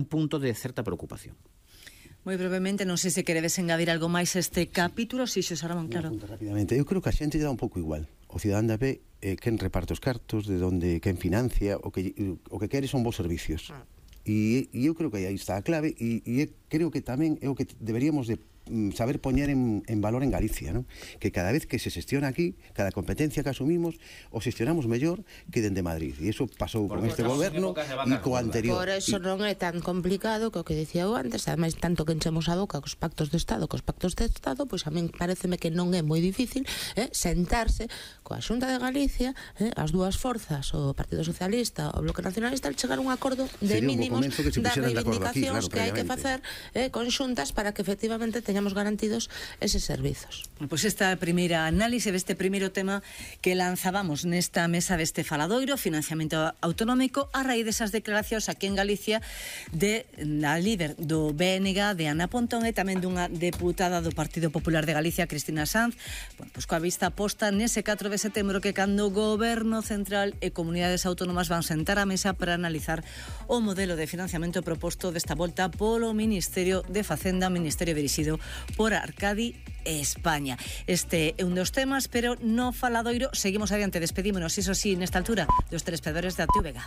un punto de certa preocupación. Moi brevemente, non sei se queredes engadir algo máis a este capítulo, si Xosé Ramón, claro. Rapidamente, eu creo que a xente lle dá un pouco igual. O cidadán ve quen reparte os cartos, de onde quen financia, o que quere son bons servicios. E eu creo que aí está a clave, e creo que tamén é o que deberíamos de saber poñer en valor en Galicia, ¿no? Que cada vez que se xestiona aquí, cada competencia que asumimos, o xestionamos mellor que dende Madrid. E iso pasou con este goberno e co anterior. Por eso non é tan complicado que o que dicía eu antes, ademais tanto que enchemos a boca cos pactos de Estado, pois a min pareceme que non é moi difícil sentarse coa Xunta de Galicia, as dúas forzas, o Partido Socialista, o Bloque Nacionalista, chegar a un acordo de mínimos das reivindicacións que hai que facer conxuntas para que efectivamente teñamos garantidos eses servizos. Pois esta primeira análise deste primeiro tema que lanzábamos nesta mesa deste faladoiro, financiamento autonómico, a raíz desas declaracións aquí en Galicia de a líder do BNG, de Ana Pontón, e tamén dunha deputada do Partido Popular de Galicia, Cristina Sanz, pois coa vista posta nese 4 de setembro que cando o Goberno Central e comunidades autónomas van sentar á mesa para analizar o modelo de financiamento proposto desta volta polo Ministerio de Facenda, Ministerio dirixido por Arcadi España. Este é un dos temas, pero no faladoiro seguimos adiante, despedímonos, iso sí, nesta altura, dos telespectadores da TVG.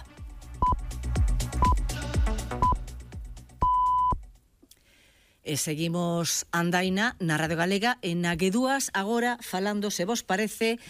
E seguimos andaina na Radio Galega e na G2 agora falando, se vos parece,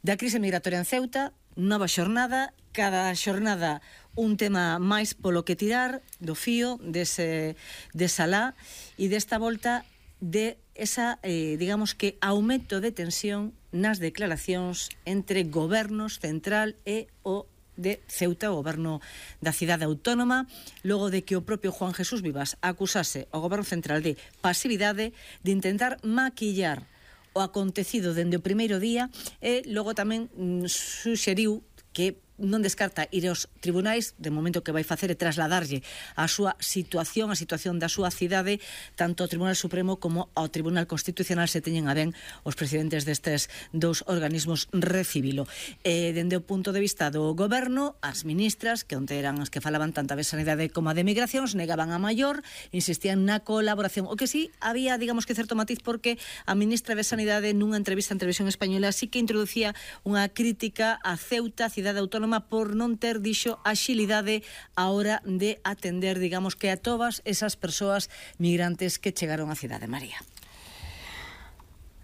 da crise migratoria en Ceuta, nova xornada, cada xornada un tema máis polo que tirar do fío desa lá, e desta volta de esa, digamos que, aumento de tensión nas declaracións entre gobernos central e o de Ceuta, o goberno da cidade autónoma, logo de que o propio Juan Jesús Vivas acusase ao goberno central de pasividade, de intentar maquillar o acontecido dende o primeiro día, e logo tamén suxeriu que non descarta ir aos tribunais, de momento que vai facer é trasladarlle a súa situación, a situación da súa cidade, tanto ao Tribunal Supremo como ao Tribunal Constitucional, se teñen a ben os presidentes destes dous organismos recibilo. Dende o punto de vista do goberno, as ministras, que onte eran as que falaban tanto de sanidade como de migracións, negaban a maior, insistían na colaboración. O que sí, había, digamos que certo matiz, porque a ministra de Sanidade nunha entrevista en Televisión Española sí que introducía unha crítica a Ceuta, a cidade autónoma, por non ter, dixo, axilidade a hora de atender, digamos que a todas esas persoas migrantes que chegaron á cidade, María.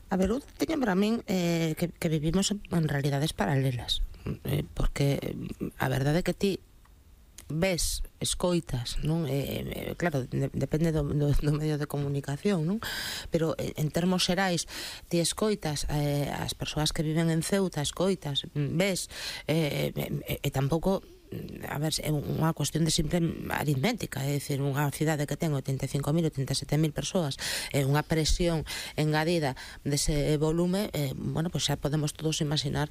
A ver, eu teño para min que vivimos en realidades paralelas, porque a verdade é que ti ves, escoitas, non? Claro, depende do medio de comunicación, non? Pero en termos xerais, ti escoitas as persoas que viven en Ceuta, escoitas, ves, e tampouco, a ver, é unha cuestión de simple aritmética, é dicir, unha cidade que ten 85.000, 87.000 persoas, unha presión engadida dese volume, bueno, pois xa podemos todos imaginar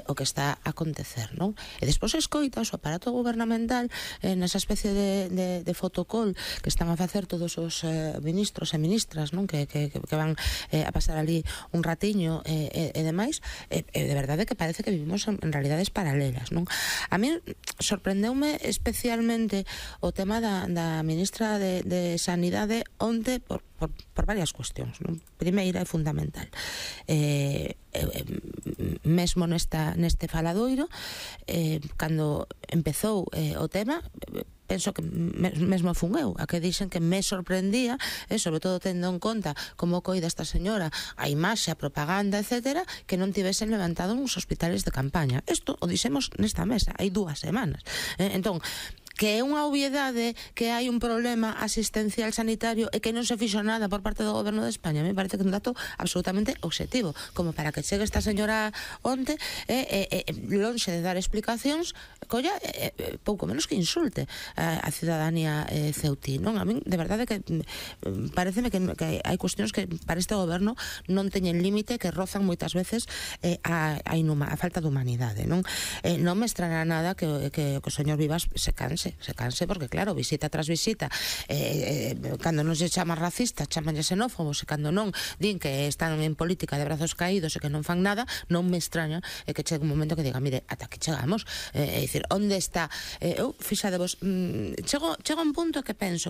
o que está a acontecer, non? E despois escoitas o aparato gubernamental nesa especie de fotocall que están a facer todos os ministros e ministras, non? Que van a pasar ali un ratiño e demais, de verdade que parece que vivimos en realidades paralelas, non? A mí sorprendeume especialmente o tema da ministra de Sanidade onte por varias cuestións, non? Primeira e fundamental, mesmo neste faladoiro, cando empezou o tema, penso que mesmo fun eu a que dixen que me sorprendía, sobre todo tendo en conta como coida esta señora a imaxe, a propaganda, etcétera, que non tivesen levantado uns hospitales de campaña. Isto o dixemos nesta mesa hai 2 semanas. Entón, que é unha obviedade que hai un problema asistencial sanitario e que non se fixo nada por parte do goberno de España, me parece que é un dato absolutamente objetivo, como para que chegue esta señora onte lonxe de dar explicacións, colla, pouco menos que insulte a cidadanía ceutí, non? A min, de verdade, que pareceme que hai cuestións que para este goberno non teñen límite, que rozan moitas veces a falta de humanidade, non? Non me extraña nada que o señor Vivas se canse, porque claro, visita tras visita, cando non se chama racista, chamanlle xenófobos, e cando non din que están en política de brazos caídos e que non fan nada, non me extraña que chegue un momento que diga, mire, ata aquí chegamos, é dicir, onde está? Eu, fixadevos, chego a un punto que penso que